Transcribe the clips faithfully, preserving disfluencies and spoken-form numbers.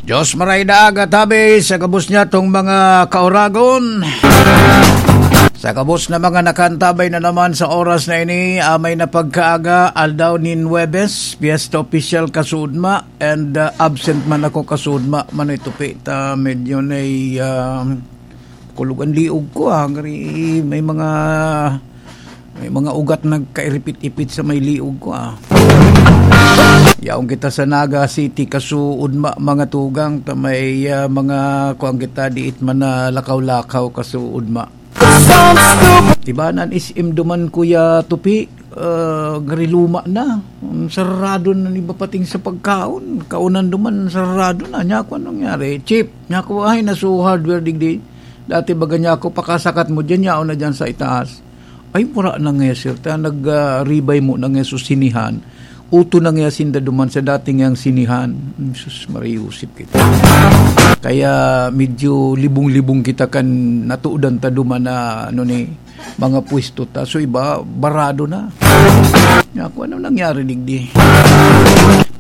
Diyos maray na aga tabi sa gabos niya tong mga kauragon. Sa gabos na mga nakantabay na naman sa oras na ini, amay na pagkaaga, aldaw nin Huwebes, Fiesta Oficial kasuodma, and, ah, absent man ako kasuodma, manoy tupi ta medyo na, ah, kulog an liog ko, ah, ngari may mga, may mga ugat nagkairipit-ipit sa may liog ko, ah. Yaon kita sa Naga City, kasuodma, mga tugang, ta may, ah, mga kuwan kita, diit man na lakaw-lakaw, kasuodma. Ibanan is imduman, Kuya Tupi, ah, ngari luma na. Sarado na ni bapating sa pagkaon. Kaunan duman, sarado na. Niya ako, anong nangyari? Chief, niya ako, ay, naso hardware digdi. Dati baga niya ako, pakasakat mo dyan, yaon na dyan sa itaas. Ay, mura na nga, sir. Ta, nag, ah, ribay mo na nga susinihan. Uto na nga sinda duman sa dating yang sinihan. Sus, mariusip kita. Kaya medyo libong-libong kita kan natuudan ta duman na, ano ni, mga pwesto ta. So, iba, barado na. Ako, ano nangyari digdi?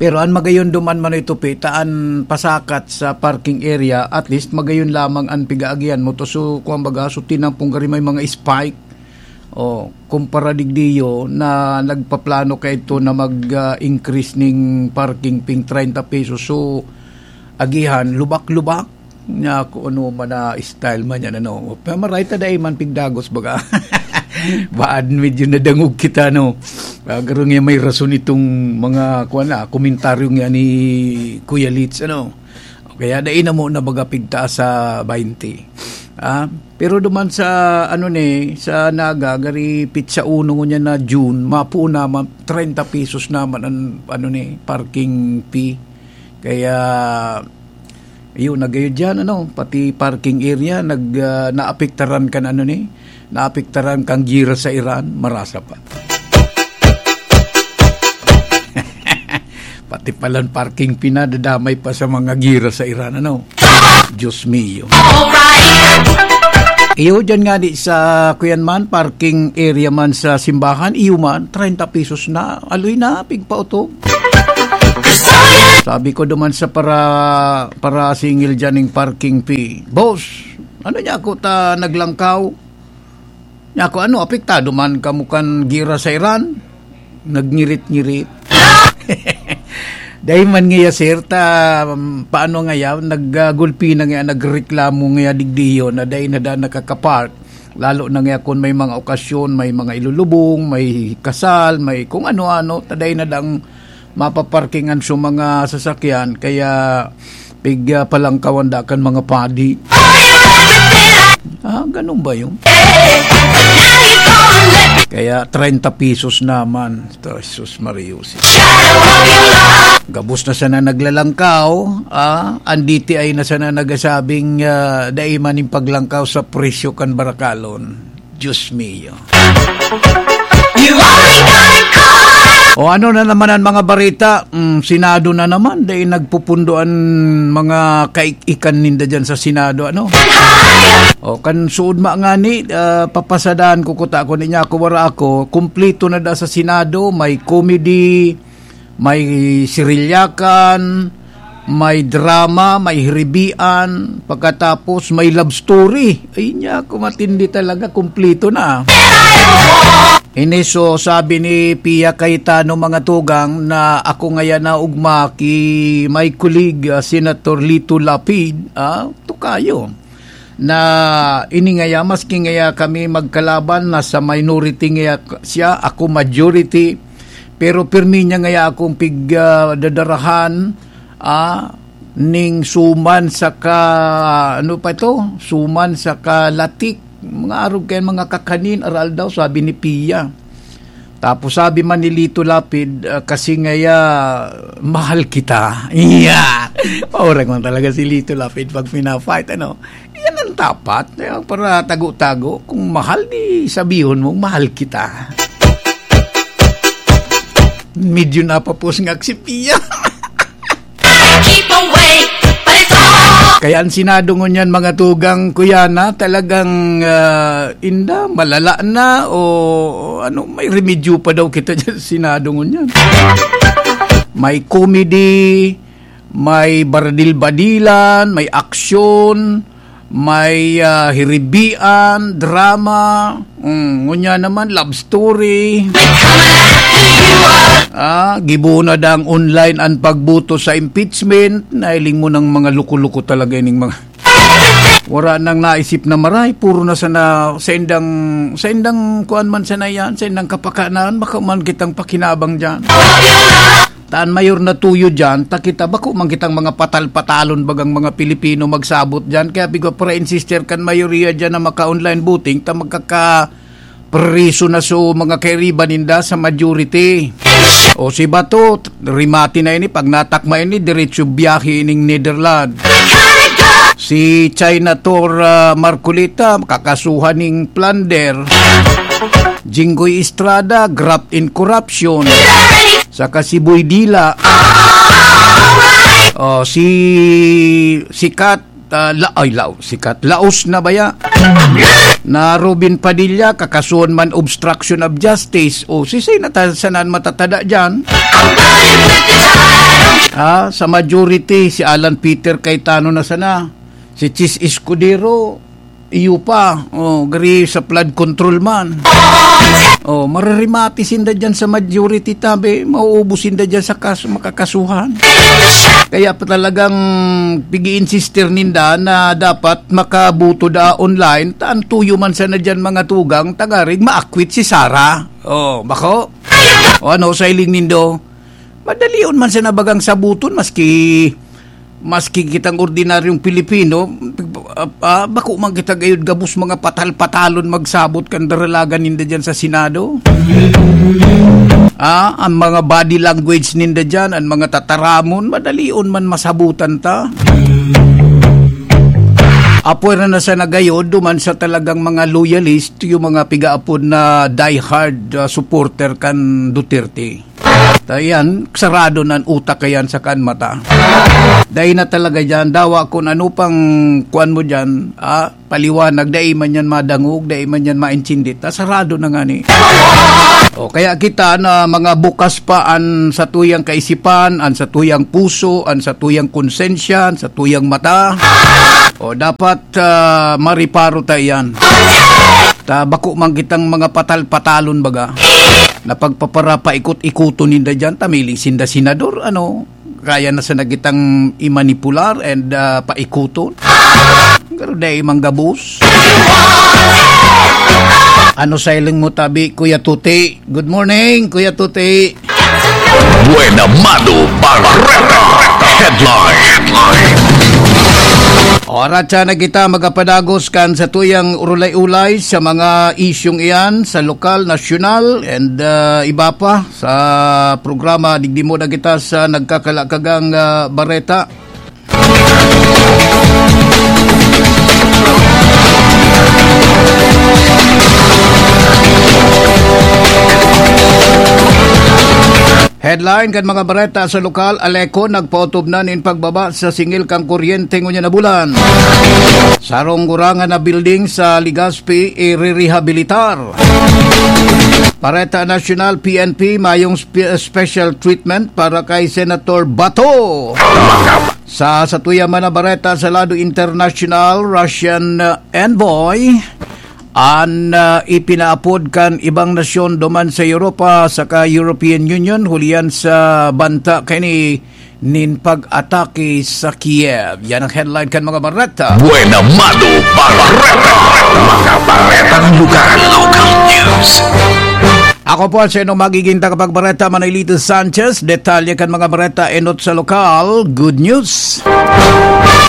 Pero an magayon duman manoy tupi, ta an pasakat sa parking area, at least magayon lamang an pigaagihan mo. To, so, kung baga, so, tinampong gari may mga spike. O, kumpara digdiyo na nagpaplano kaito na mag, ah, increase ning parking ping treinta pesos. So, agihan, lubak-lubak. Niya ako, ano man na style man yan, ano. Pero maray ta dai man pigdagos, baga. Baad medyo nadangog kita, no? Ah, garo nga may rason itong mga, kuwan na, komentaryo nga ni Kuya Litz, ano? Kaya dai na mo na baga pigtaas sa baynte. Ah, pero duman sa, ano ni, sa Naga, gari pitsa uno ngunyan na June, mapuo naman, treinta pesos naman ang, ano ni, parking fee. Kaya, yun, nagayod dyan, ano, pati parking area, nag, ah, naapektaran kan, ano ni, naapektaran kang gira sa Iran, marasa pa. Pati palan parking fee na, dadamay pa sa mga gira sa Iran, ano? Diyos mio. Iyo dyan nga di sa, kuyan man, parking area man sa simbahan, iyo man, treinta pesos na, aloy na, pigpautob. Sabi ko duman sa para, para singil dyan ning parking fee, "Boss, ano niya ako ta naglangkaw?" Niya ako, "Ano, apektado man kamo kan gira sa Iran?" Nagngirit-ngirit. Dai man ngaya, sir, ta, um, paano ngaya, nag, ah, gulpi na ngaya, nagreklamo ngaya digdiyo na dai na da nakakapark. Lalo na ngaya kung may mga okasyon, may mga ilulubong, may kasal, may kung ano-ano, ta dai na dang mapaparkingan sa mga sasakyan. Kaya, pig, ah, palangkawan da kan mga padi. Ah, ganun ba yun? Kaya treinta pesos naman. Ito, Jesus Marios. Gabos na sana naglalangkaw, ah, ang D T I na sana nagasabing, ah, dai man yung paglangkaw sa presyo kan barakalon. Diyos mio. O ano na naman ang mga barita? Mm, Senado na naman, dai nagpupundo ang mga kaik-ikan ninda dyan sa Senado, ano? O kan suod ma ngani, ah, papasadaan ko kuta ko niya, ako wara ako, kumplito na da sa Senado, may comedy, may sirilyakan, may drama, may hiribian, pagkatapos may love story. Ay niya, ako matindi talaga, kumplito na. Ini, so, sabi ni Pia Cayetano, mga tugang, na ako ngayon na ugma ki may kulig, ah, Senator Lito Lapid, ah, tukayo. Na ini ngaya, maski ngaya kami magkalaban, nasa minority ngaya siya, ako majority, pero pirmi niya ngaya akong pig, ah, dadarahan, ah, ning suman sa ka, ano pa ito? Suman sa kalatik. Mga arog kayan, mga kakanin, aral daw, sabi ni Pia. Tapos sabi man ni Lito Lapid, ah, "Kasi ngaya, mahal kita." Iya! Maurag man talaga si Lito Lapid pag pina-fight, ano? Yan ang dapat. Kaya para tago-tago, kung mahal, di sabihon mo, "Mahal kita." Medyo napapos nga si Pia. Keep away, but it's all Kaya ang Senado ngunyan, mga tugang, kuya, na talagang, ah, inda, malala na o ano, may remedyo pa daw kita dyan sa Senado ngunyan. May comedy, May baradil-badilan, may aksyon, may, ah, hiribian, drama, mm, ngunyan naman, love story. Ah, gibo na dang online an pagboto sa impeachment. Nahiling mo ng mga loko-loko talaga ining mga wala nang naisip na maray, puro na sana sa indang, sa indang kuan man sana yan, sa indang kapakanan, bako man kitang pakinabang diyan. Taan mayor na tuyo diyan, ta kita bako man kitang mga patal-patalon bagang mga Pilipino magsabot diyan. Kaya bigo para insister kan mayoriya diyan na maka-online voting, ta magkaka-, priso na so mga kairiba ninda sa majority. O si Bato, rimati na ini, pag natakma ini, diretso biyahe ining Netherlands. Si China Tor, ah, Marcoleta, kakasuhan ning plunder. Jinggoy Estrada, graft and corruption. Saka si Boy Dila. O, si Sikat, ah, la-, ay, lao, Sikat. Laos na baya. Na Robin Padilla, kakasuhan man obstruction of justice. O, si Senator Sanan matatada dyan. Ah, sa majority, si Alan Peter Cayetano na sana. Si Chiz Escudero, iyo pa. O, gari sa flood control man. O, maririmati sinda dyan sa majority, tabi. Mauubos sinda dyan sa kas-, makakasuhan. Kaya pa talagang pigi-insister ninda na dapat makaboto da online. Taan tuyo man sana dyan mga tugang, tangarig maakwit si Sara. O, bako? O ano, sa hiling nindo? Madalion man sana bagang sabuton, maski, maski kitang ordinaryong Pilipino, ah, ah, bako man kita gayod gabos mga patal-patalon magsabot kan daralagan ninda dyan sa Senado. Ah, ang mga body language ninda dyan, ang mga tataramon, madalion man masabutan ta. Apwera na sana gayod, duman sa talagang mga loyalist, yung mga pigaapod na diehard, ah, supporter kan Duterte. Ta yan, sarado na an utak kayan sa kan mata. Dai na talaga dyan, dawa kung ano pang kuan mo dyan, ah, paliwanag, dai man yan madangog, dai man yan maintindi. Ta sarado na nga ni. O, kaya kita na mga bukas pa an satuyang kaisipan, an satuyang puso, an satuyang konsensya, an satuyang mata. O, dapat, ah, mariparo ta iyan. Ta bako man kitang mga patal-patalon baga. Na pagpaparapaikot-ikoton ninda dyan, ta miling sinda senador, ano, kaya na sana kitang imanipular and, ah, paikuton. Pero dai man gabos. Ano sa hiling mo tabi, Kuya Tuti? Good morning, Kuya Tuti. Buena Mano Barreta Headline. Oras na kita magapadagos kan satuyang urulay-ulay sa mga isyung iyan sa lokal, nasyonal, and, ah, iba pa sa programa. Digdi mo na kita sa nagkakalakagang, ah, bareta. Headline kan mga bareta sa lokal: Aleco nagpaotob na nin pagbaba sa singil kan kuryente ngunyan na bulan. Sarong gurangan na building sa Legazpi irerehabilitar. Bareta Nasyonal, P N P, mayong spe-, special treatment para kay Senator Bato. Sa satuya man na bareta sa lado internasyonal, Russian, uh, envoy an, uh, ipinaapod kan ibang nasyon duman sa Europa saka European Union hulihan sa banta kaini nin pag-atake sa Kiev. Yan ang headline kan mga bareta. Buena Mano Barreta. Mga baretang lokal. Local news. Ako po si inyong magiging tagapagbareta, Manolito Sanchez. Detalye kan mga bareta enot sa lokal. Good news.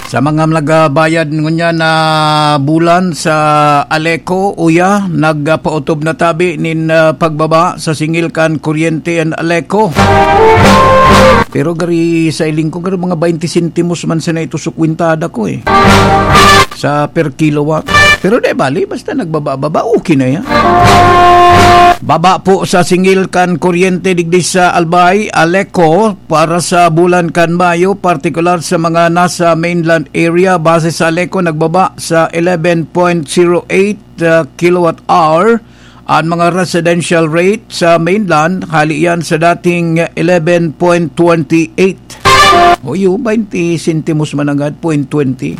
Sa mga nagbayad ngunyan na bulan sa Aleco, uya, nagpaotob na tabi nin, ah, pagbaba sa singil kan kuryente an Aleco. Pero gari sa hiling ko, gari mga baynte sentimos man sana ito sa kwintada ko eh. Sa per kilowatt. Pero di bali, basta nagbaba-baba, okay na yan. Baba po sa singil kan kuryente digdi sa Albay, Aleco, para sa bulan kan Mayo, partikular sa mga nasa mainland area. Base sa Aleco, nagbaba sa eleven point zero eight, uh, kilowatt hour an mga residential rate sa mainland, hali yan sa dating eleven point twenty eight. O iyo, baynte sentimos man nanggad, point twenty.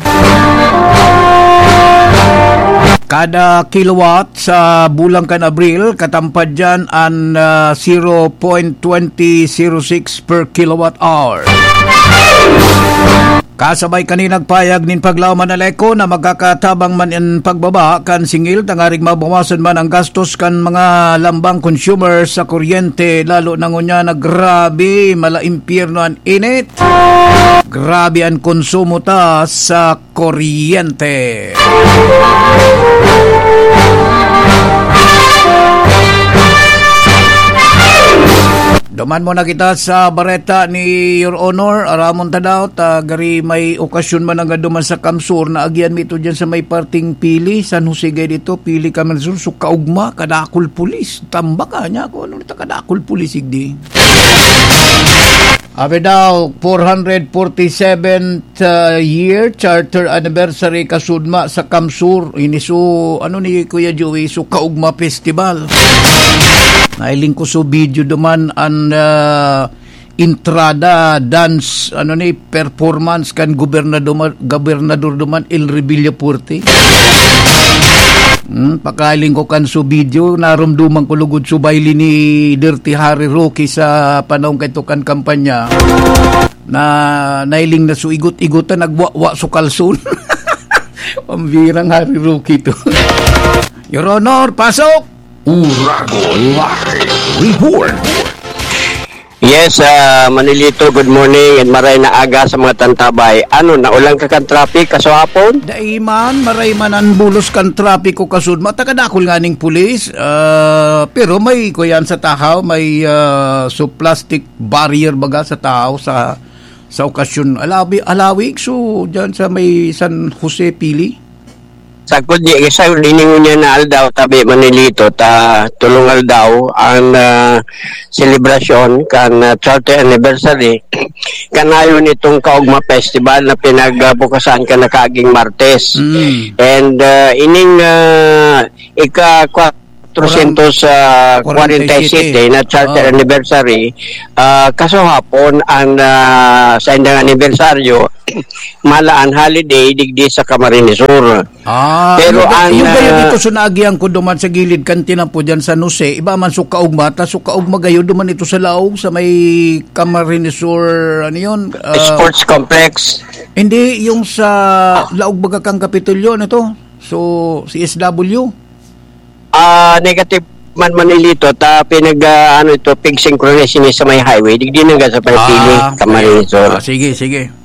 Kada kilowatt sa bulan kan Abril, katampad diyan an, ah, zero point twenty zero six per kilowatt hour. Kasabay kan nagpahayag nin paglaom an ALECO na magkakatabang man an pagbaba kan singil tanganing mabawasan man ang gastos kan mga lambang consumer sa kuryente, lalo na ngunyan na grabe, mala impyerno an init. Grabe an konsumo ta sa kuryente. Duman muna kita sa bareta ni Your Honor. Aramon ta daw, ta gari may okasyon man nanggad duman sa CamSur. Naagihan mi ito dyan sa may parting Pili, San Jose gay dito, Pili, CamSur. So, kaugma, kadakol pulis. Tambak, ah, niya ako. Ano nito, kadakol pulis, igdi? Abi daw, four hundred forty-seven, uh, year charter anniversary kasudma sa CamSur. Ini so, ano ni Kuya Joey, so kaugma festival. Nailing ko so video duman an, uh, entrada, dance, ano ni, performance kan gobernador, gobernador duman, El Revilla Forte. Hmm, pakailing ko kan so video, narumduman ko lugod so baile ni Dirty Harry Roque sa panahon kaito kan kampanya. Na nailing na so igot-igotan, nagwawa so kalson. Pambirang Harry Roque to. Your Honor, pasok! Urago Live Report. Yes, ah, Manilito, good morning and maray na aga sa mga tantabay. Ano, naulan ka kan traffic kaso hapon? Dai man, maray man an bulos kan traffic ko kasud. Matakadakol nga ning pulis, ah, pero may kuyan sa tahaw, may, ah, so plastic barrier baga sa tahaw sa, sa okasyon. Alawi-, alawig, so dyan sa may San Jose, Pili. Sagkod di, sa ini ngunyan na aldaw, tabi Manilito, ta tulong aldaw ang, ah, selebrasyon kan, ah, thirty anniversary kanayon itong Kaugma Festival na pinagbukasan kan nakaaging Martes. Mm. And, ah, ining, ah, ika-kwatrosyentos kwarenta y siyete na charter Ah. anniversary, ah, kaso hapon ang, ah, sa indang anibersaryo, malaan holiday digdi sa Camarines Sur. Ah, Pero yung ga-, ang, yung gayon ah, ito, so naagihan ko duman sa gilid kan tinampo dyan sa Nuse, iba man so kaugma, ta so kaugma gayon duman ito sa laog, sa may Camarines Sur, ano yun? Ah, Sports Complex. Hindi, yung sa laog baga kang Kapitolyo, ano to? So, C S W? Ah, negative man Manilito, ta pinag, ah, ano ito, pig synchronize ini sa may highway, digdi na sa may Ah, Pili, Camarines Sur. Ah, sige, sige.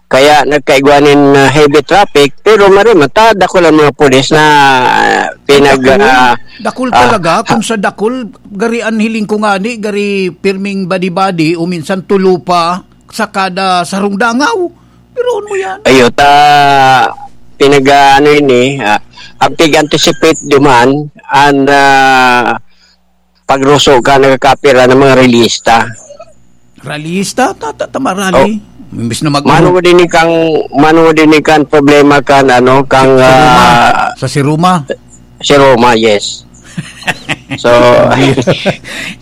Kaya nagkaigwa nin, ah, heavy traffic, pero maray man ta, dakul ang mga pulis na, ah, pinag, Dakul, ah, dakul ah, talaga. ha- Kung sa dakul, gari an hiling ko ngani, gari pirming badi-badi, o minsan tulo pa sa kada sarong dangaw. Pero ano yan? Ayo, ta, pinag, ah, ano ini, ah, ang pig-anticipate duman, ang, ah, pagruso ka, nagkakapira ng mga rallyista. Rallyista? Ta-, ta-, tama, rally. Oh. Imbis na mag- Mano mo din kang, mano mo din kang problema kan, ano, kang, Si Roma. ah, Sa si Roma. Si Roma, yes. So,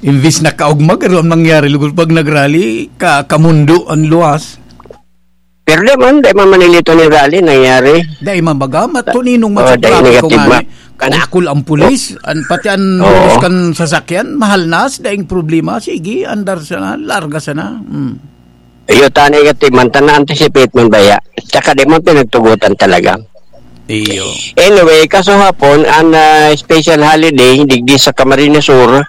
Imbis na kaugma, pero ang nangyari, lugod pag nag-rally, ka-, kamundo ang luwas. Pero di man, di man Manilito ni rally nangyari. Dai man baga, matuninong man Oh, sa dai trapiko negative nga man. ni. Kadakol ang pulis, an, pati an Oo. bulos kan sasakyan, mahal na, daing problema, sige, andar sana, larga sana. Hmm. Iyo, ta negative man, ta na-anticipate man baya. Tsaka di man pinagtugutan talaga. Iyo. Anyway, kaso hapon, ang, ah, special holiday, digdi sa Camarines Sur,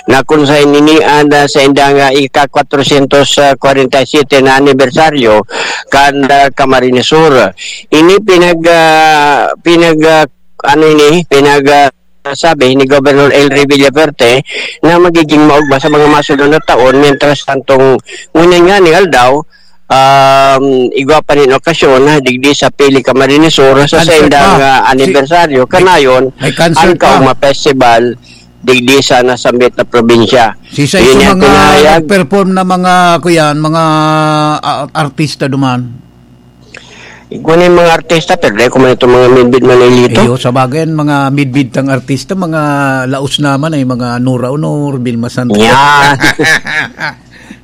na kung sa ininian, ah, sa indang, ah, ika-kwatrosyentos kwarenta y siyete na anibersaryo, kan, ah, Camarines Sur. Ini pinag, ah, pinag, ah, ano ini, pinag, ah, sabi ni Governor Elry Villafuerte na magiging maugma sa mga masunod na taon, mientras tantong ngunyan nga ni aldaw, um, igwa pa nin okasyon, ha, digdi sa Pili Camarines Sur, sa Concert sendang, pa. ah, Si-, anibersaryo, may, kanayon, may concert ang pa. Kaugma Festival, digdi sa nasambit na probinsya. Si Sai Yun sa yung mga pinahayag. nag-perform na mga, kuyan, mga, ah, artista duman. Igwa na yung mga artista, pero dahil ko man itong mga midbid Manilito. Iyo, sa bagay, mga midbid tang artista, mga laos naman ay mga Nora Honor, Vilma Santos. Yan.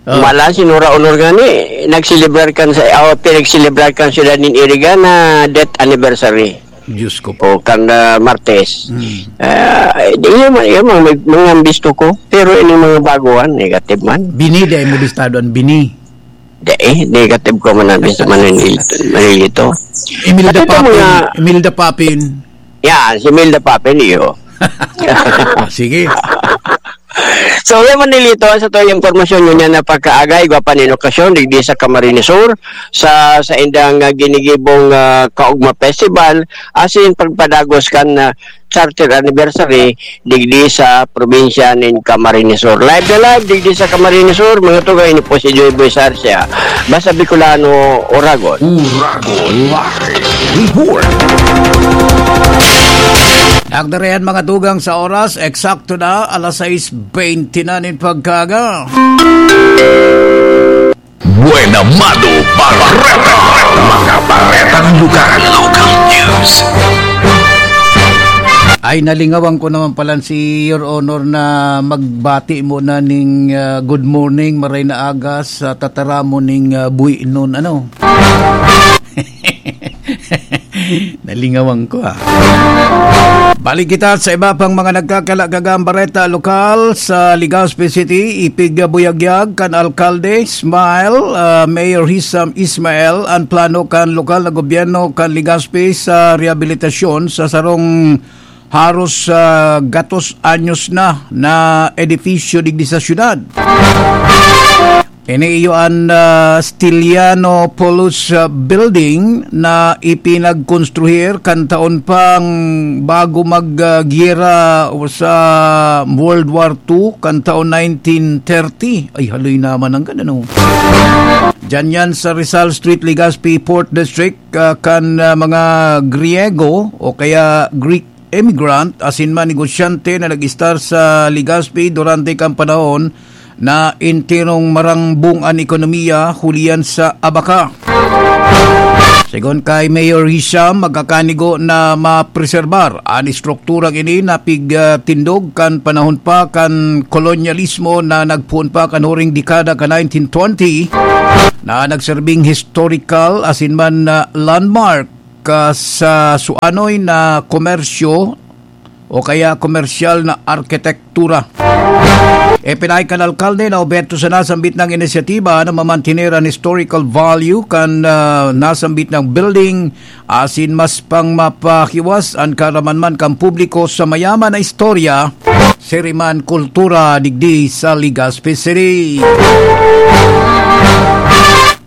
Ah. Mala, sinura honor nga ni, nagselebrar kan sa, oh, pinagselebrar kan sila nin Iriga na death anniversary. Diyos ko po. O, kan, ah, Martes. Hmm. Ah, di, yun man, yun man, may, mga bisto ko. Pero ining mga baguhan, negative man. Bini, di mo bistado ang bini. Di, eh, negative ko man ang bisto, manilito, manilito. Imelda At ito Papin, mga Imelda Papin. Yan, si Imelda Papin, iyo. Sige. So, yan, manilito, sa to yung impormasyon nyo niya na pagkaagay, igwa pa nin okasyon, digdi sa Camarines Sur, sa, sa indang, ah, ginigibong, ah, Kaugma Festival, asin pagpadagos kan, ah, charter anniversary, digdi sa probinsya nin Camarines Sur. Live na live, digdi sa Camarines Sur, mga tugay ni po si Joy Boy Sarsia. Basta Bicolano, Oragon. Oragon Live Report. Nagdarayan mga tugang sa oras, eksakto na, alas sais bente na nin pagkaga. Buena Mano Bareta. Mga baretang lugar. Local news. Ay, nalingawan ko naman pala si Your Honor na magbati muna ning, ah, good morning, maray na aga sa tataramon ning, ah, buhi nun, ano? Nalingawan ko, ah. Balik kita sa iba pang mga nagkakalagagang bareta lokal sa Legazpi City. Ipigbuyagyag kan alkalde, Smile, ah, Mayor Hisam Ismail, an plano kan lokal na gobyerno kan Legazpi sa rehabilitasyon sa sarong haros, ah, gatos anyos na, na edifisyo digdi sa syudad. Ini iyo an, ah, Stilianopoulos, ah, Building na ipinagkonstruhir kan taon pang bago mag, ah, giyera sa World War Two, kan taon nineteen thirty. Ay, haloy naman ang ganda, no? Diyan yan sa Rizal Street, Legazpi, Fourth District, ah, kan, ah, mga Griego o kaya Greek immigrant asin man negosyante na nag-estar sa Legazpi durante kan panahon na enterong marambong an ekonomiya huli yan sa abaka. Segun kay Mayor Hisham, magkakanigo na mapreserbar an estrukturang ini na pigtindog kan panahon pa kan kolonyalismo na nagpoon pa kan huring dekada kan nineteen twenty, na nagserbing historical asin man na landmark ka sa suanoy na komersyo o kaya komersyal na arkitektura. Ipinahay kan alkalde na oberto sa nasambit na inisyatiba na mamantener an historical value kan, ah, nasambit na building asin mas pang mapahiwas an karamanman kan publiko sa mayaman na istorya, siriman, kultura digdi sa Legazpi City.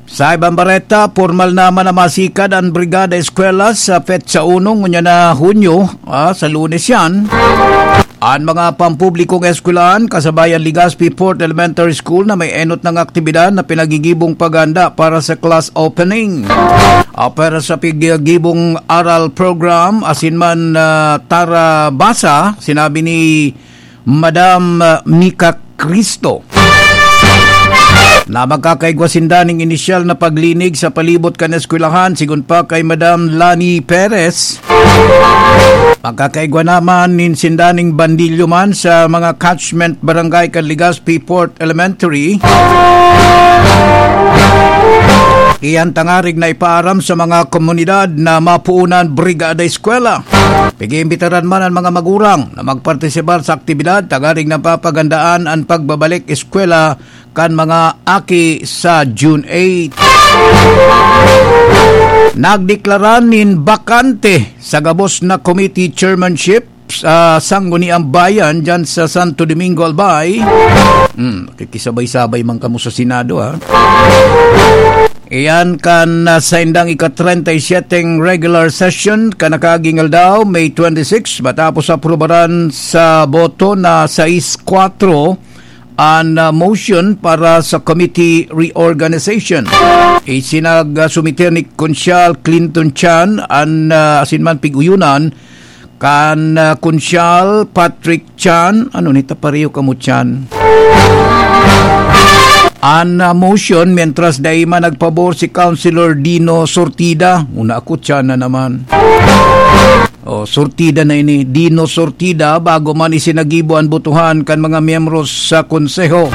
Sa ibang bareta, pormal naman na masikad an Brigada Eskwela sa petsa uno ngunyan na Hunyo, ah, sa Lunes yan. An mga pampublikong eskwelahan, kasabay an Legazpi Fourth Elementary School na may enot nang aktibidad na pinagigibong paghahanda para sa class opening. Ah, para sa pigigibong aral program, asin man, ah, Tara Basa, sinabi ni Madam, ah, Mika Cristo na magkakaigwa sinda ning inisyal na paglinig sa palibot kan eskwelahan, sigon pa kay Madam Lani Perez. Magkakaigwa naman nin sinda ning bandilyo man sa mga catchment barangay kan Legazpi Fourth Elementary. Iyan tangarig na ipaaram sa mga komunidad na mapuunan Brigada Eskwela. Pag-iimbitaran man an mga magurang na magpartisipar sa aktibidad, tanganing napapagandaan an pagbabalik eskwela kan mga aki sa June eight. Nagdeklara nin bakante sa gabos na committee chairmanship sa Sangguniang Bayan dyan sa Santo Domingo, Albay. Hmm, kikisabay-sabay man kamo sa Senado, ha? Iyan kan, ah, saindang ika-treinta y siete regular session kan nakaaging aldaw, May twenty-six, matapos aprobaran sa boto na sais kwatro an, ah, motion para sa committee reorganization. Isinag, ah, sumiter ni Konsyal Clinton Chan an, ah, asin man pig-uyunan kan, ah, Konsyal Patrick Chan. Ano ni, ta pareho kamo Chan? An, ah, motion, mientras dai man nagpabor si Councilor Dino Sortida. Una ako, Chan na naman. O, Sortida na ini. Dino Sortida, bago man isinagibo an botohan kan mga miyembro sa Konseho.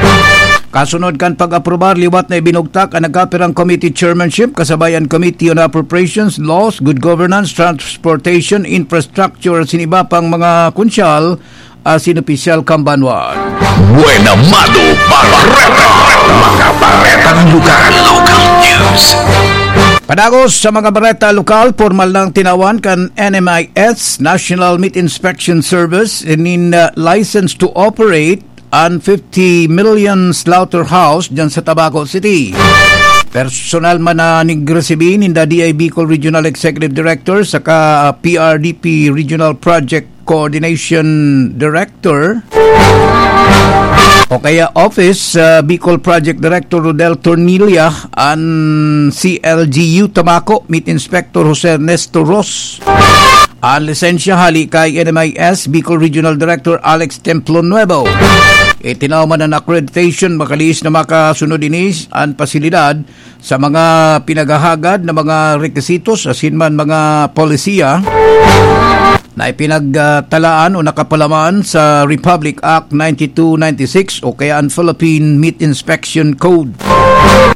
Kasunod kan pag-aprobar, liwat na ibinugtak an nagkapirang committee chairmanship, kasabay an Committee on Appropriations, Laws, Good Governance, Transportation, Infrastructure, asin iba pang mga kunsyal, asin opisyal kan banwa. Buena Mano Bareta, mga baretang lugar, local news. Padagos sa mga bareta lokal, pormal nang tinawan kan N M I S, National Meat Inspection Service, nin, uh, license to operate an fifty million slaughterhouse diyan sa Tabaco City. Personal man na nigresibi ninda D I Bicol Regional Executive Director saka P R D P Regional Project Coordination Director o kaya Office, uh, Bicol Project Director Rodel Tornilla, an C L G U Tabaco, Meat Inspector Jose Ernesto Ros. An lisensya hali kay N M I S Bicol Regional Director Alex Templo Nuevo. Itinaw man an accreditation, makalihis na makasunod ini an pasilidad sa mga pinaghahagad na mga requisitos asin man mga polisiya na ipinagtalaan o nakapalaman sa Republic Act ninety-two ninety-six o kaya an Philippine Meat Inspection Code.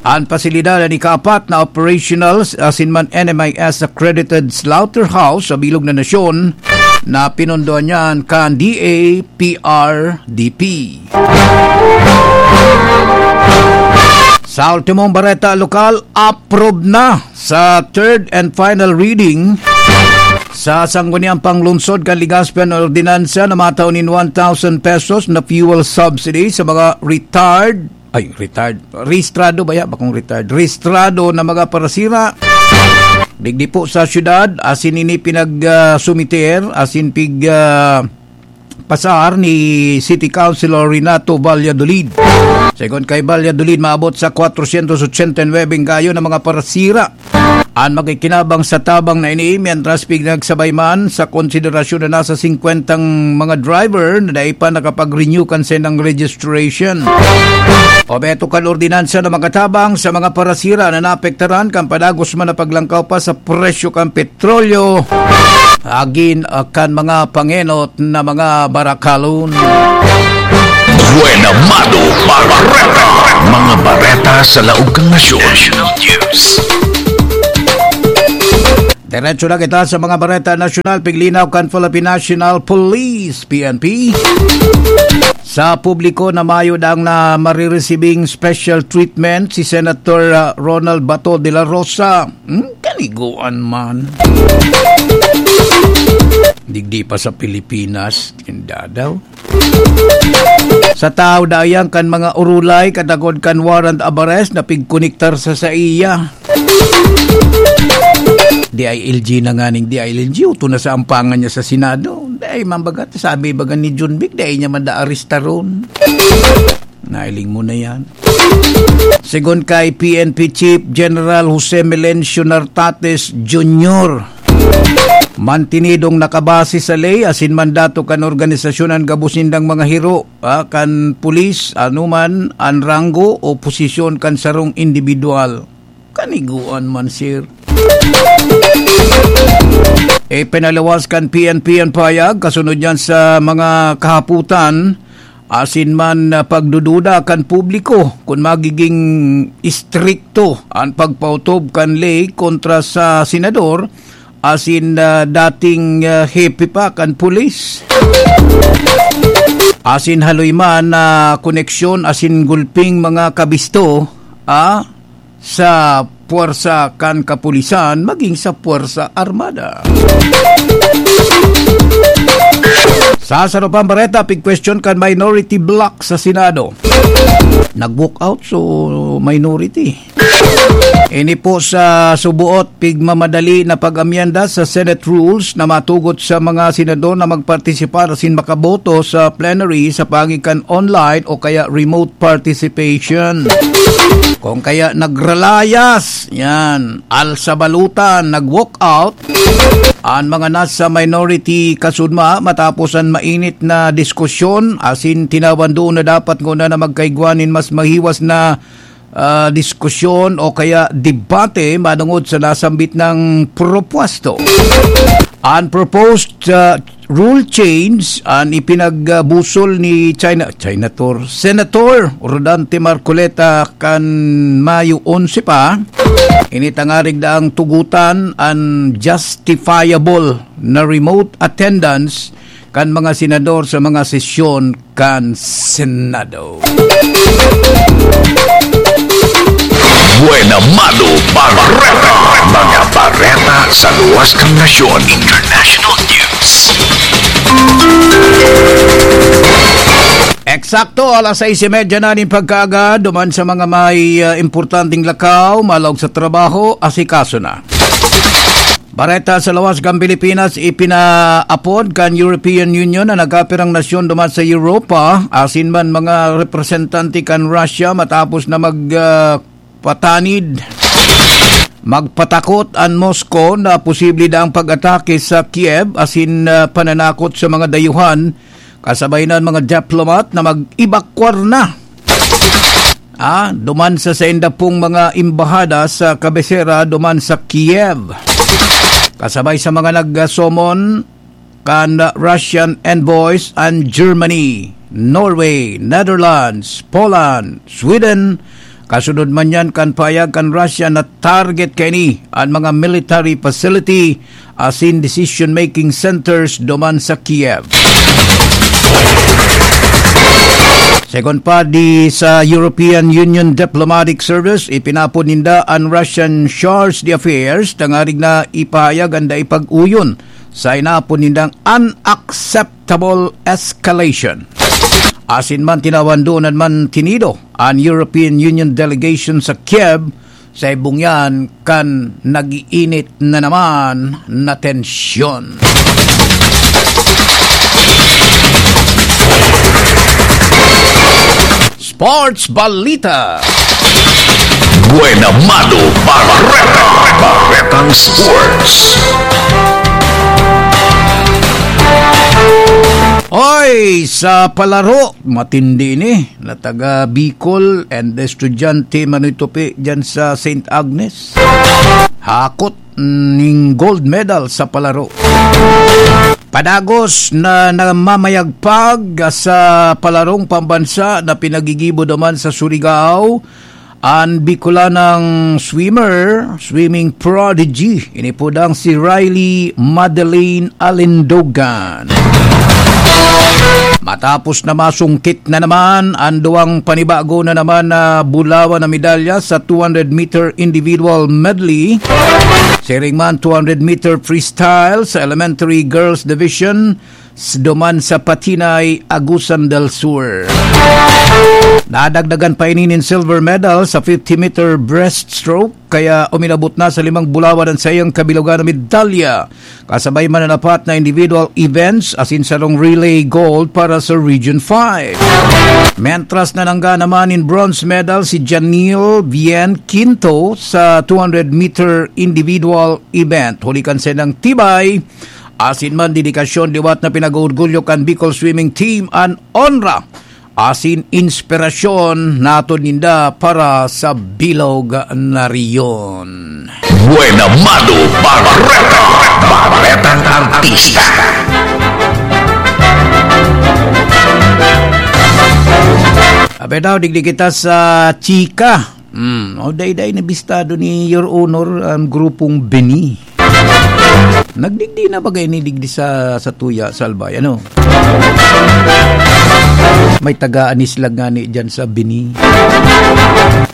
An pasilidad an ikaapat na operational asin man N M I S accredited slaughterhouse sa bilog na nasyon na pinondohan niyan kan D A P R D P. Sa ultimong bareta lokal, approve na sa third and final reading sa Sangguniang Panglungsod kan Legazpi an ordinansa na matao nin one thousand pesos na fuel subsidy sa mga retired, ay, retired, rehistrado ba ya? Bakong retired. Rehistrado na mga parasira. Digdi po sa syudad, asin ini pinag, ah, sumiter, asin pig, ah, pasar ni City Councilor Renato Valladolid. Segun kay Valladolid, maabot sa kwatrosyentos otsenta y nuebe gayo na mga parasira an makikinabang sa tabang na ini, mientras pinagsabay man sa konsiderasyon na nasa singkwentang mga driver na dai pa nakapag-renew kan saindang registration. Obheto kan ordinansa na makatabang sa mga parasira na naapektaran kan padagos man na paglangkaw pa sa presyo kan petrolyo, agin, ah, kan mga pangenot na mga barakalon. Buena Mano Bareta, mga bareta sa laog kan nasyon. National News. Diretso na kita sa mga bareta nasyonal, piglinaw kan Philippine National Police, P N P. Sa publiko na mayo dang na mariresibing special treatment si Senator, ah, Ronald Bato de la Rosa. Hmm, kaniguan man. Digdi pa sa Pilipinas, tinda daw. Sa tao dayan kan mga urulay, kadagod kan warrant of arrest na pigkonektar sa saiya. D I L G na nganing D I L G, uto na sa ampangan niya sa Senado. Dai man baga, sabi baga ni John Vic, dai niya man da arestaron. Nailing mo na yan. Segun kay P N P Chief General Jose Melencio Nartates Junior, mantinidong nakabase sa ley asin mandato kan organisasyon an gabos nindang mga hiro, ah, kan pulis, anuman an ranggo o posisyon kan sarong indibidwal. Kaniguan man, sir. Ipinalawas kan P N P an pahayag kasunod niyan sa mga kahapotan asin man, ah, pagdududa kan publiko kun magiging istrikto an pagpautob kan ley kontra sa senador asin, ah, dating, ah, hepe pa kan pulis. Asin haloy man na koneksyon asin gulping mga kabisto, ah, sa puwersa kan kapulisan maging sa puwersa armada. Sa sarong pang bareta, pigkwestiyon kan minority bloc sa Senado. Nag-walk out, so minority. Ini po sa subuot pigmamadali na pag-amyenda sa Senate rules na matugot sa mga senador na magpartisipar asin makaboto sa plenary sa paagi kan online o kaya remote participation. Kung kaya nagralayas, yan, alsa balutan, nag-walk out, an mga nasa minority kasudma matapos an mainit na diskusyon asin tinawan doon na dapat nguna na magkaigwa nin mas mahiwas na, ah, diskusyon o kaya debate manungod sa nasambit na propuwesto. An proposed, ah, rule change an ipinagbusol ni China, Senator, Senator Rodante Marcoleta kan Mayo onse pa. Ini tangarig daang tugutan an justifiable na remote attendance kan mga senador sa mga sesyon kan Senado. Buena Mano Bareta. Mga bareta sa luwas kan nasyon. International news. Eksakto, alas sais y media na nin pagkaaga, duman sa mga may, ah, importanteng lakaw, malaog sa trabaho, asikaso na. Bareta sa lawas kan Pilipinas, ipinaapod kan European Union na nagkapirang nasyon duman sa Europa, asin man mga representante kan Russia matapos na mag, ah, patanid, magpatakot an Moscow na posible daang pag-atake sa Kiev, asin, ah, pananakot sa mga dayuhan, kasabay na an mga diplomat na mag-evacuar na. Ah, duman sa sainda pong mga embahada sa kabesera duman sa Kiev. Kasabay sa mga nag-summon kan Russian envoys an Germany, Norway, Netherlands, Poland, Sweden. Kasunod man yan kan pahayag kan Russia na target kaini an mga military facility asin decision-making centers duman sa Kiev. Segun pa di sa European Union Diplomatic Service, ipinapod ninda an Russian charge d'affaires tangarig na ipahayag an dai pag-uyon sa inapod nindang unacceptable escalation. Asin man tinawan doon man tinido an European Union delegation sa Kiev sa ibong yan kan nag-iinit na naman na tensyon. Sports Balita. Buena Mano Bareta. Baretang Sports. Oy, sa palaro, matindi ni na taga Bicol and estudyante Manoy Tupi dyan sa Saint Agnes. Hakot ning gold medal sa palaro. Padagos na namamayagpag sa palarong pambansa na pinagigibo naman sa Surigao, an Bicolanang swimmer, swimming prodigy, ini po dang si Riley Madeleine Alindogan. Matapos na masungkit na naman an duwang panibago na naman na bulawan na medalya sa two hundred meter individual medley, siring man two hundred meter freestyle sa elementary girls division, s-, duman sa Patinay, Agusan del Sur. Nadagdagan pa ini nin silver medal sa fifty meter breaststroke, kaya uminabot na sa limang bulawan an saiyang kabilugan na medalya. Kasabay man an apat na individual events, asin sarong relay gold para sa Region five. Mentras na nangga naman nin bronze medal si Janil Bien Quinto sa two hundred meter individual event. Huli kan saindang tibay, asin man dedikasyon, liwat na pinag-oorgulyo kan Bicol Swimming Team an onra asin inspirasyon naton ninda para sa bilog na rehiyon. Buena Mano Bareta, Baretang Artista. Abi daw, digdi kita sa chika. Hmm, o, dai-dai na bistado ni Your Honor ang grupong Bini. Nagdigdi na ba kayo ni digdi sa, sa Tuya, sa Albay? Ano? May taga-anis lang nga ni dyan sa Bini.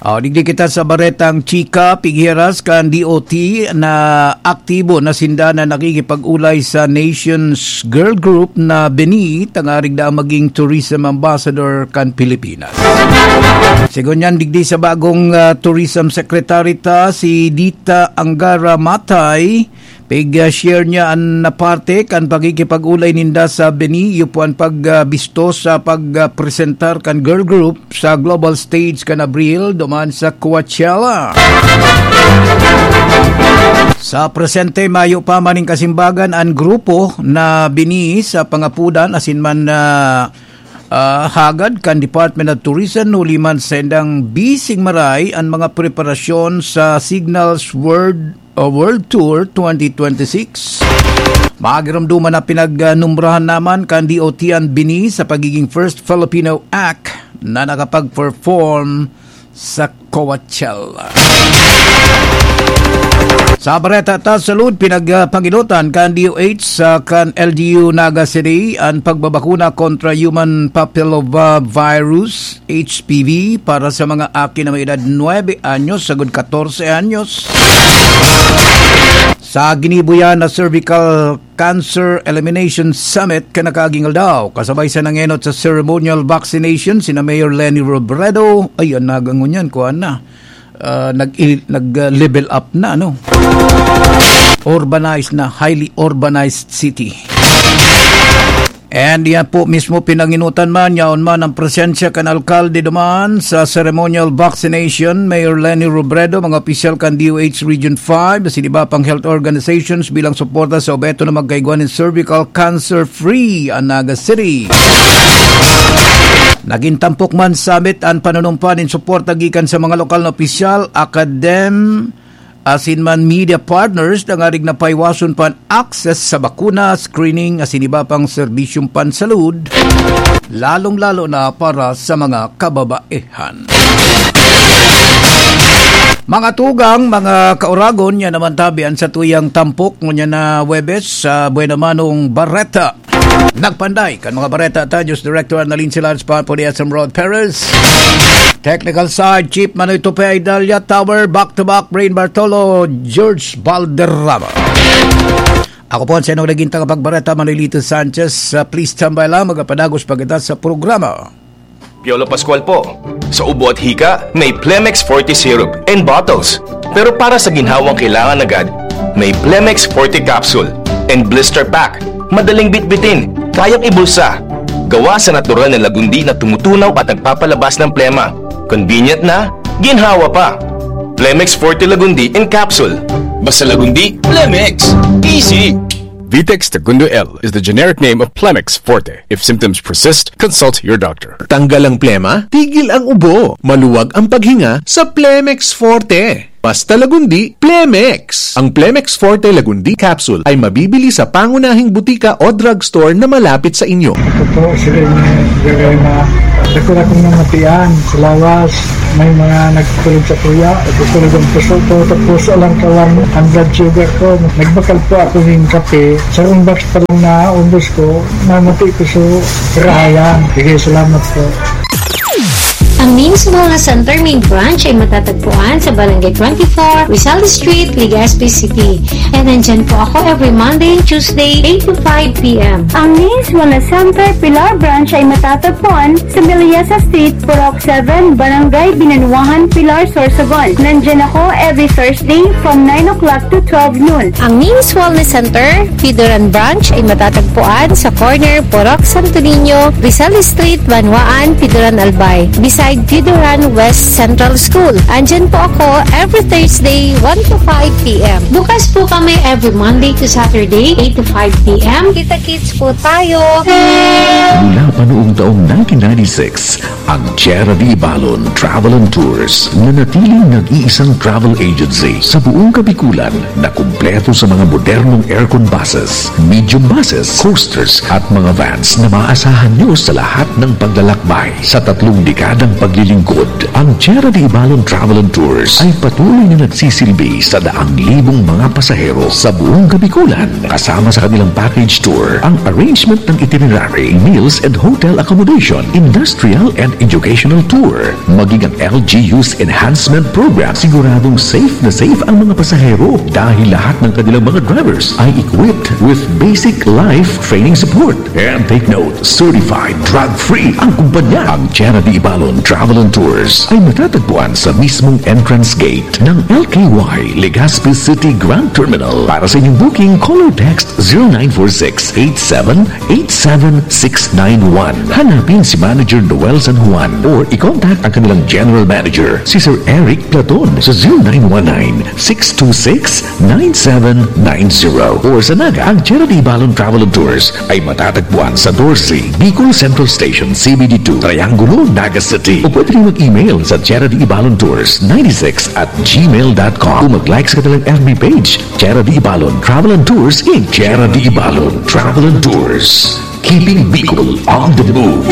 O, digdi kita sa Baretang Chika, pighiras kan D O T na aktibo na sinda na nakikipag-ulay sa Nations Girl Group na Bini, tangarig na maging tourism ambassador kan Pilipinas. Sigon niyan, digdi sa bagong, ah, Tourism Secretary ta, si Dita Angara Matay, pig, ah, share niya an na parte kan pakikipag-ulay ninda sa Bini, iyo po an pag, ah, bisto sa pag, ah, presentar kan girl group sa global stage kan Abril, duman sa Coachella. Sa presente, mayo pa maning kasimbagan an grupo na Bini sa pangapodan, asin man, ah, ah, hagad kan Department of Tourism, huli man sa indang bising maray an mga preparasyon sa Signals World World Tour twenty twenty-six. Magirumduman na pinagnumrahan naman kan D O T an Bini sa pagiging first Filipino act na nakapag-perform sa Coachella. Sa bareta ta salud, pinagpangilotan kan D O H sa kan L G U Naga City an pagbabakuna kontra human papilloma virus, H P V, para sa mga aki na may edad nuebe anyos sagud katorse anyos. Sa ginibo yan na cervical Cancer Elimination Summit kan nakaaging aldaw, kasabay sa nangenot sa ceremonial vaccination sina Mayor Leni Robredo. Ay, an nagangon yan, kuan na. Ah, nag, nag, ah, level up na, no? Urbanized na, highly urbanized city. And yan po mismo pinanginutan man, yaon man ang presensya kan alkalde duman sa ceremonial vaccination, Mayor Leni Robredo, mga opisyal kan D O H Region five, asin iba pang health organizations bilang suporta sa obeto na magkaigwa nin cervical cancer-free an Naga City. Nagin tampok man sabit an panunumpa nin suporta gikan sa mga lokal na opisyal, akadem, asin man media partners, tangarig na paiwason pa an access sa bakuna, screening, asin iba pang serbisyong pansalud, lalong-lalo na para sa mga kababaehan. Mga tugang, mga kauragon, yan naman tabi an satuyang tampok ngunyan na Huwebes sa Buena Manong Bareta. Nagpanday kan mga bareta ta, News Director Annalyn Silares, Papo ni S M Rod Perez. Technical side, Chief Manoy Tupe, Idalia Tower, back to back, Brain Bartolo, George Valderrama. Ako po ang senong naging tagapagbareta, Manolito Sanchez. Ah, please tambay lang, magapadagos pa kita sa programa. Piolo Pascual po. Sa ubo at hika, may Plemex Forte Syrup and bottles. Pero para sa ginhawang kailangan agad, may Plemex Forte Capsule and Blister Pack. Madaling bitbitin, kayang ibulsa. Gawa sa natural na lagundi na tumutunaw at nagpapalabas ng plema. Convenient na, ginhawa pa. Plemex Forte Lagundi in Capsule. Basta Lagundi, Plemex. Easy! Vitex Tagundo L is the generic name of Plemex Forte. If symptoms persist, consult your doctor. Tanggal ang plema, tigil ang ubo, maluwag ang paghinga sa Plemex Forte. Basta Lagundi, Plemex! Ang Plemex Forte Lagundi Capsule ay mabibili sa pangunahing butika o drugstore na malapit sa inyo. Ako po si Rene Garema. Dako na kong namatian sa lawas. May mga nagtulog sa kuya. Nagtutulog ang puso ko. Tapos alang kawan ang blood sugar ko. Nagbakal po ako ng kape. Sarong box pa lang na umbos ko, namati ko sa karahayan. Sige, salamat po. Ang Names Wellness Center Main Branch ay matatagpuan sa Barangay twenty-four, Rizal Street, Legazpi City. And nandyan po ako every Monday and Tuesday, eight to five p.m. Ang Names Wellness Center Pilar Branch ay matatagpuan sa Melissa Street, Purok seven, Barangay Binanuahan, Pilar, Sorsogon. Nandyan ako every Thursday from nine o'clock to twelve noon. Ang Names Wellness Center, Pidoran Branch ay matatagpuan sa corner Purok Santo Niño, Rizal Street, Banwaan, Pidoran Albay, beside Pidoran West Central School. Andyan po ako every Thursday, one to five p.m. Bukas po kami every Monday to Saturday, eight to five p.m. Kita-kits po tayo! Mula pa noong taong nineteen ninety-six, ang Tierra de Ibalon Travel and Tours nanatiling nag-iisang travel agency sa buong Kabikulan na kumpleto sa mga modernong aircon buses, medium buses, coasters at mga vans na maaasahan nyo sa lahat ng paglalakbay. Sa tatlong dekadang paglilingkod, ang Tierra de Ibalon Travel and Tours ay patuloy na nagsisilbi sa daang libong mga pasahero sa buong Kabikulan. Kasama sa kanilang package tour ang arrangement ng itinerary, meals and hotel accommodation, industrial and educational tour, maging ang L G U's enhancement program. Siguradong safe na safe ang mga pasahero dahil lahat ng kanilang mga drivers ay equipped with basic life training support. And take note, certified drug-free ang kumpanya. Ang Tierra de Ibalon Travel and Tours ay matatagpuan sa mismong entrance gate ng L K Y Legazpi City Grand Terminal. Para sa inyong booking, call or text zero nine four six eight seven eight seven six nine one. Hanapin si Manager Noel San one or i-contact ang kanilang General Manager, si Sir Eric Platon, sa zero nine one nine, six two six, nine seven nine zero. Or sa Naga, ang Chera de Ibalon Travel and Tours ay matatagpuan sa doce, Bicol Central Station, C B D two, Triangulo, Naga City. O pwede rin mag-email sa Chera de Ibalon Tours ninety-six at gmail dot com. O mag-like sa kanilang F B page, Chera de Ibalon Travel and Tours, Inc. Chera de Ibalon Travel and Tours. Keeping Bicol on the move.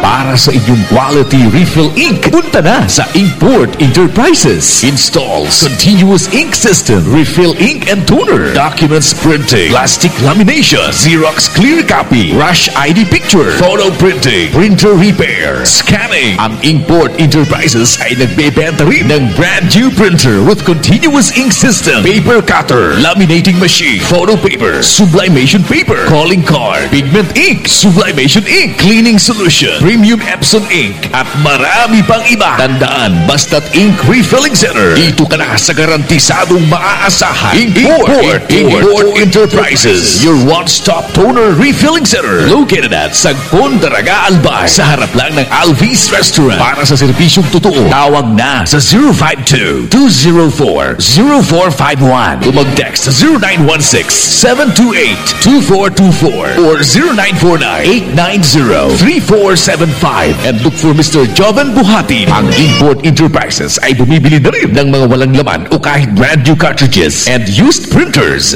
Para sa inyong quality refill ink, punta na sa Inkport Enterprises. Installs continuous ink system, refill ink and toner, documents printing, plastic lamination, Xerox clear copy, rush I D picture, photo printing, printer repair, scanning. Ang Inkport Enterprises ay nagbebenta rin ng brand new printer with continuous ink system, paper cutter, laminating machine, photo paper, sublimation paper, calling card, pigment ink, sublimation ink, cleaning solution, premium Epson ink, at marami pang iba. Tandaan, basta't ink refilling center, dito ka na sa garantisadong maaasahan. Import, Import, Import Enterprises, your one-stop toner refilling center, located at Sagpon, Daraga, Albay, sa harap lang ng Alvis Restaurant. Para sa serbisyong totoo, tawag na sa zero five two, two zero four, zero four five one o mag-text sa zero nine one six, seven two eight, two four two four or zero nine four nine, eight nine zero, three four seven five and look for Mister Joven Buhati. Ang Import Enterprises ay bumibili na rin ng mga walang laman o kahit brand new cartridges and used printers.